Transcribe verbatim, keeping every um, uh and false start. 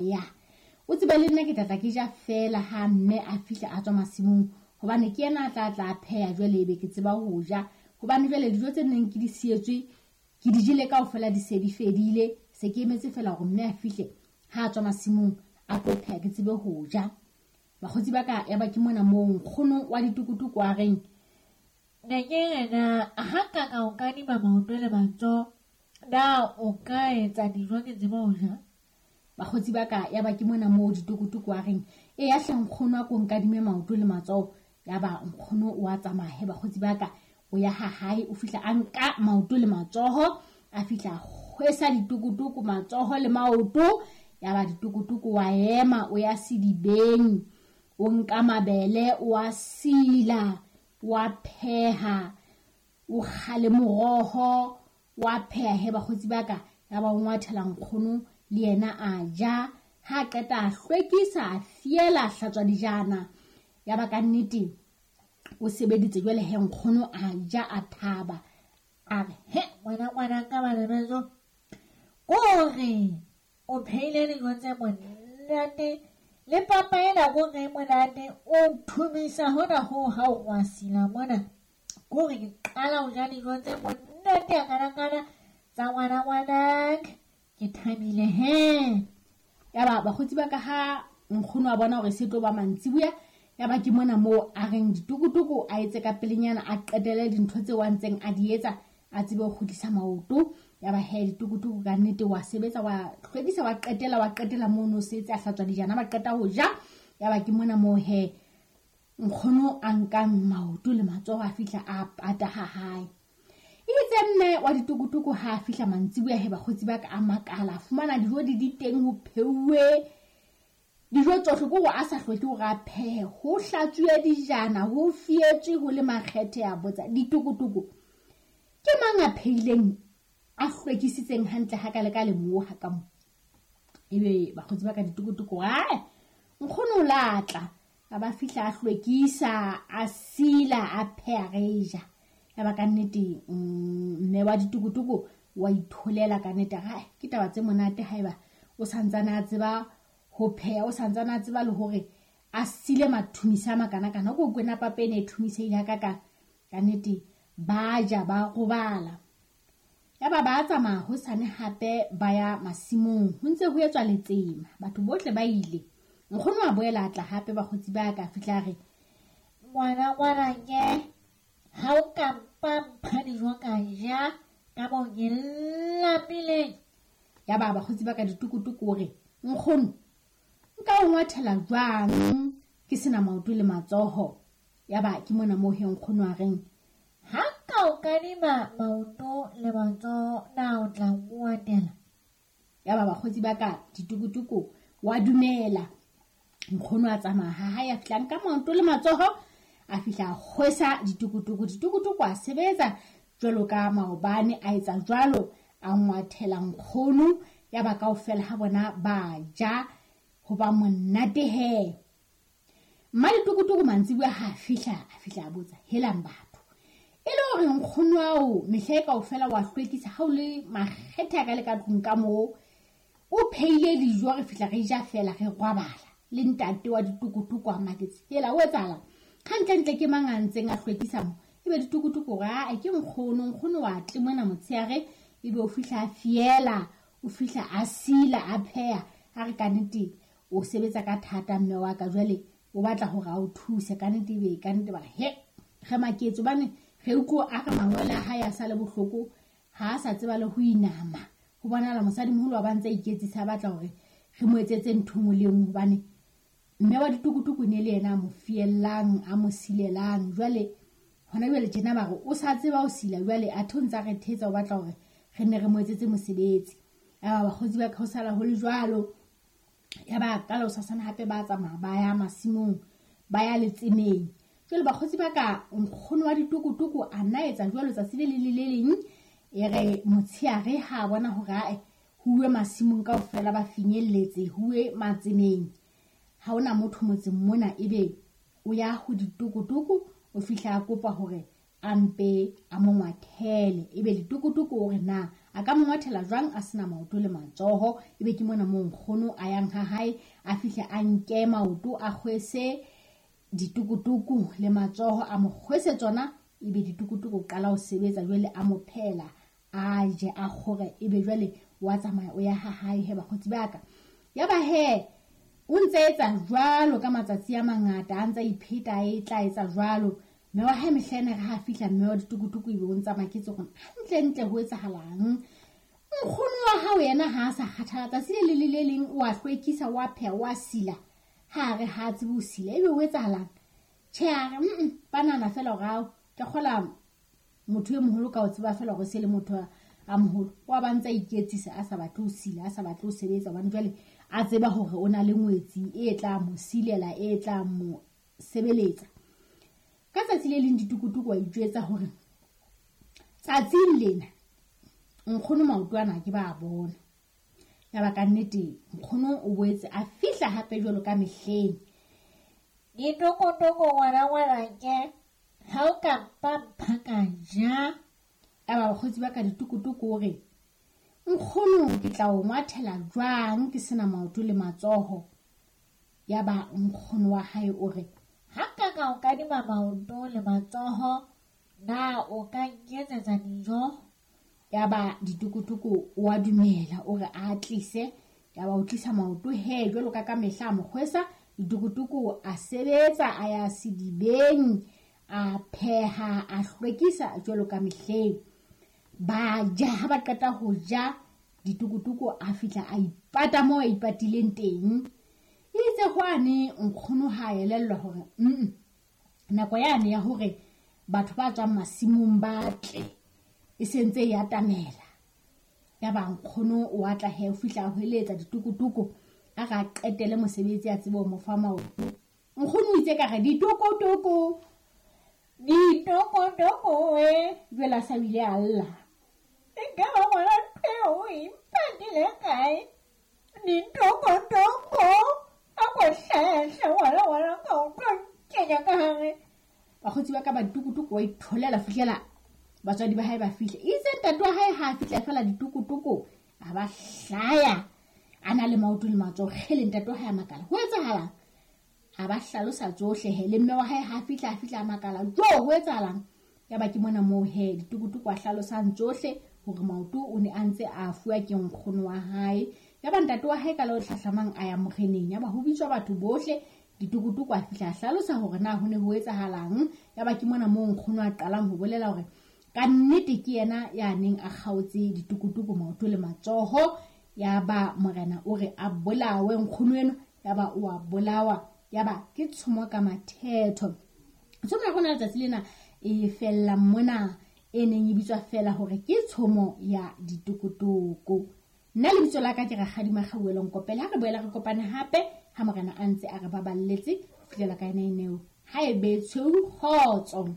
Ya o tsebe le nna ke tla tla ke ja feela ha mme a fihla a tswa masimong, hobane ke yena a tla tla pheha jwale ebe ke tseba ho ja. Hobane jwale dijo tse neng ke di sietswe ke di jele kaofela, di se di fedile. Se ke emetse feela hore mme a fihle ha a tswa masimong a tlo pheha ke tsebe ho ja. Bakgotsi ba ka, ya ba ke mona moo nkgono wa ditukutuku a reng, ne ke re na ha nka ka o kadima maoto le matsoho, na o ka etsa dijo ke tsebe ho ja? Bakgotsi ba ka, ya ba ke mona moo ditukutuku a reng, e ya hle nkgono a ko nkadime maoto le matsoho. Ya ba nkgono o a tsamaya he bakgotsi ba ka, o ya ha hae, o fihla a nka maoto le matsoho, a fihla a kgwesa ditukutuku matsoho le maoto. Ya ba ditukutuku wa ema o ya sedibeng, o nka mabele o a sila, wa pheha, o kga le moroho, wa pheha he bakgotsi ba ka. Ya ba o ngwathela nkgono le yena a ja. Ha qeta a hlwekisa, a fiela, a hlatswa dijana. Ya ba ka nnete o sebeditse jwale he nkgono a ja a thaba. A re he ngwana ngwana ka bana beso, kore o phehile dijo tse monate le papa ena kore e monate, o thumisa hona hoo ha o wa sila mona. Kore ke qala ho ja dijo tse monate a kanakana tsa ngwana ngwanaka, ke thabile he. Ya ba bakgotsi ba ka ha nkgono a bona hore se tlo ba mantsibuya, ya ba ke mona moo a reng ditukutuku a etse ka pelenyana, a qetele dintho tseo a ntseng a di etsa, a tsebe ho kgutlisa maoto. Ya ba he ditukutuku ka nnete wa sebetsa, wa hlwekisa, wa qetela, wa qetela mono setse a hlatswa dijana, ba qeta ho ja. Ya ba ke mona moo he nkgono a nkang maoto le matsoho a fihla a pata ha hae. Itse mme wa ditukutuku ha a fihla mantsibuya he bakgotsi ba ka a makala, a fumana dijo di di teng, ho pheuwe dijo tsohle, ke hore a sa hloke hore a phehe, ho hlatsuwe dijana, ho fietswe, ho le makgethe. A botsa ditukutuku, ke mang a phehileng a hlwekisitseng hantle ha ka le ka le moo ha ka mo? Ebe bakgotsi ba ka ditukutuku, ae nkgono o latla. A ba fihla a hlwekisa, a sila, a pheha, re ja. Ya ba ka nnete mme wa ditukutuku wa itholela ka nnete. Hai, ke taba tse monate haeba o santsane a tseba ho pheha, o santsane a tseba le hore a sile mathumisa a makanakana. Ko kwena papa ene e thumisehile ha ka ka nnete ba ja ba robala. Ya ba ba tsamaya hosane hape ba ya masimong, ho ntse ho etswa letsema, batho bohle ba ile. Nkgono a boela a tla hape bakgotsi ba ka, fihla a re, ngwana ngwana ke ha o ka mpa mpha dijo ka ja ka mo ke lapileng. Ya ba bakgotsi ba ka ditukutuku o re, nkgono nka o ngwathela jwang ke sena maoto le matsoho? Ya ba ke mona moo he nkgono a reng, ha ka o kadima maoto le matsoho na o tla ngwatela? Ya ba bakgotsi ba ka ditukutuku wa dumela. Nkgono a tsamaya ha hae, a fihla nka maoto le matsoho, a fihla a kgwesa ditukutuku. Ditukutuku a sebetsa jwalo ka maobane, a etsa jwalo, a ngwathela nkgono. Ya ba kaofela ha bona ba ja, ho ba monate he. Mma ditukutuku mantsibuya ha fihla, a fihla a botsa, helang batho, e le hore nkgono ao mehla e kaofela wa hlwekisa ha o le makgethe a ka le ka tlung ka moo, o phehile dijo, re fihla re ja feela re robala. Le ntate wa ditukutuku a maketse, hela o etsahala hantlentle ke mang a ntseng a hlwekisa mo? Ebe ditukutuku hore ae ke nkgono, nkgono wa tle mona motshehare, ebe o fihla a fiela, o fihla a sila, a pheha. A re ka nnete o sebetsa ka thata mme wa ka, jwale o batla hore a o thuse ka nnete. Ebe ka nnete ba re he re maketse, hobane re utlwa a re mangwele a hae a sa le bohloko, ha a sa tseba le ho inama. Ho bonahala mosadimoholo wa ba ntse a iketsisa, a batla hore re mo etsetse ntho e nngwe le e nngwe, hobane mme wa ditukutuku ne le yena a mo fiellang, a mo silelang. Jwale hona jwale tjena ba re o sa tseba ho sila, jwale athe o ntsa re thetsa, o batla hore re nne re mo etsetse mosebetsi. Ya ba bakgotsi ba ka ho sala ho le jwalo. Ya ba ka la hosasane hape ba tsamaya ba ya masimong, ba ya letsemeng. Jwale bakgotsi ba ka nkgono wa ditukutuku a nna etsa jwalo tsatsi le leng le le leng. E re motshehare ha bona hore ae huwe masimong kaofela ba finyelletse, huwe matsemeng, ha hona motho motseng mona, ebe o ya ho ditukutuku, o fihla a kopa hore a mpe a mo ngwathele. Ebe ditukutuku o re na a ka mo ngwathela jwang a sena maoto le matsoho? Ebe ke mona moo nkgono a yang ha hae, a fihle a nke maoto a kgwese ditukutuku le matsoho, a mo kgwese tsona. Ebe ditukutuku o qala ho sebetsa jwale, a mo phela a je a kgore. Ebe jwale wa tsamaya o ya ha hae he bakgotsi ba ka. Yaba he o ntse etsa jwalo ka matsatsi a mangata, a ntse a ipheta a e tla etsa jwalo. Mme wa hae mehleng re ha fihla mme wa ditukutuku ebe o ntsa maketse hore hantle ntle ho etsahalang. Nkgono wa hao yena ha a sa kgathala, tsatsi le le le leng o a hlwekisa, wa pheha, wa sila, ha re ha tsebe ho sila. Ebe ho etsahalang? Tjhe, a re mm ba nahana fela hore ao ke kgola motho e moholo ka o tseba fela hore se le motho a moholo. Wa ba ntsa iketsisa a sa batle ho sila, a sa batle ho sebetsa, hobane jwale a tseba hore o na le ngwetsi e tla mo silela, e tla mo sebeletsa. Ka tsatsi le leng ditukutuku wa ijwetsa hore tsatsing lena nkgono maoto ana ke ba bona. Yaba ka nnete nkgono o boetse a fihla hape jwalo ka mehleng. Ditokotoko ngwana ngwanake, ha o ka mpa mpha ka ja. Yaba bakgotsi ba ka ditukutuku o re nkgono ke tla o ngwathela jwang ke sena maoto le matsoho? Yaba nkgono wa hae o re ha nka ka o kadima maoto le matsoho, na o ka nketsetsa dijo? Yaba ditukutuku o a dumela, o re a tlise. Yaba o tlisa maoto he jwalo ka ka mehla a mo kgwesa. Ditukutuku a sebetsa, a ya sedibeng, a pheha, a hlwekisa jwalo ka mehleng. Ba ja, ha ba qeta ho ja, ditukutuku a fihla a ipata moo a ipatileng teng. Itse hwane nkgono ha elellwa hore mm nako yane ya hore batho ba tswang masimong ba tle e sentse e atamela. Yaba nkgono o atla he o fihla a hweletsa ditukutuku a ra qetele mosebetsi a tsebe ho mo fa maoto. Nkgono o itse ka re ditukutuku ditokotoko e jwale a sa bile a lla. Nka ba ngwana ntho eo o ipatile kae? Ditokotoko a ko hlahe ngwana ngwana ka o tlo nkenya ka hare. Bakgotsi ba ka ba ditukutuku wa itholela fihlela batswadi ba hae ba fihle. Itse ntate wa hae ha a fihla fela ditukutuku a ba hlaya a na le maoto le matsoho. Kgele, ntate wa hae a makala, ho etsahalang? A ba hlalosa tsohle he. Le mme wa hae ha a fihla a fihla a makala, jo ho etsahalang? Yaba ke mona moo he ditukutuku a hlalosang tsohle hore maoto o ne a ntse a fuwa ke nkgono wa hae. Yaba ntate wa hae ka le hlahlamang a ya moreneng. Yaba ho bitswa batho bohle. Ditukutuku a fihla a hlalosa hore na ho ne ho etsahalang. Yaba ke mona moo nkgono a qalang ho bolela hore ka nnete ke yena ya neng a kgaotse ditukutuku maoto le matsoho. Yaba morena o re a bolawe nkgono eno. Yaba o a bolawa. Yaba ke tshomo ka mathetho. Tshomo ya rona letsatsi lena e fella mona, e neng e bitswa fela hore ke tshomo ya ditukutuku. Nna lebitso la ka ke Rakgadi Makgauwelo Nkopele. Ha re boela re kopane hape ha morena a ntse a re baballetse ho fihlela ka ena eneo. Ha e be tshweu, kgotso.